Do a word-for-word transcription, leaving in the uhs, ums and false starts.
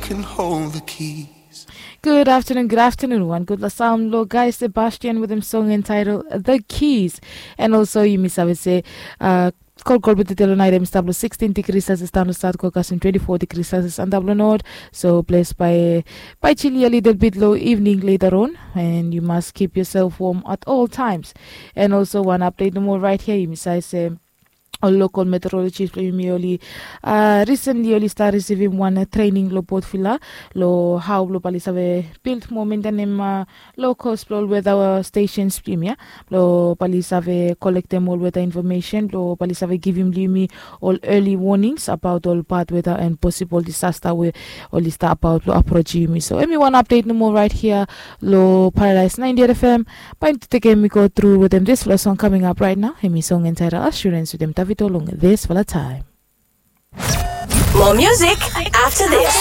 Can hold the keys. Good afternoon, good afternoon. Wan gudfala saon lo Guy Sebastian wetem song entitled The Keys. And also yumi save se uh, kolkol bete telo nait em stap lo sixteen degrees Celsius, daon lo South go kasem twenty-four degrees Celsius antap lo North. So ples by by chilly a little bit lo evening later on, and you must keep yourself warm at all times. And also wan update nomo right here, yumi save se ol local meteorologist blo yumi oli uh, recently oli start receiving wan uh, training lo Port Vila lo how blo bali save build mo maintainem uh, lo cost blo ol weather uh, stations blo yumi ya blo bali save collectem ol weather information blo bali save givim lo yumi ol early warnings about ol bad weather and possible disaster we oli start about blo approach yumi. So emi wan update nomo right here lo Paradise ninety-eight F M. Bae yumi tekem i go tru wetem disfala song coming up right now. Emi song entitled Assurance wetem Davido long disfala taem. More music after this.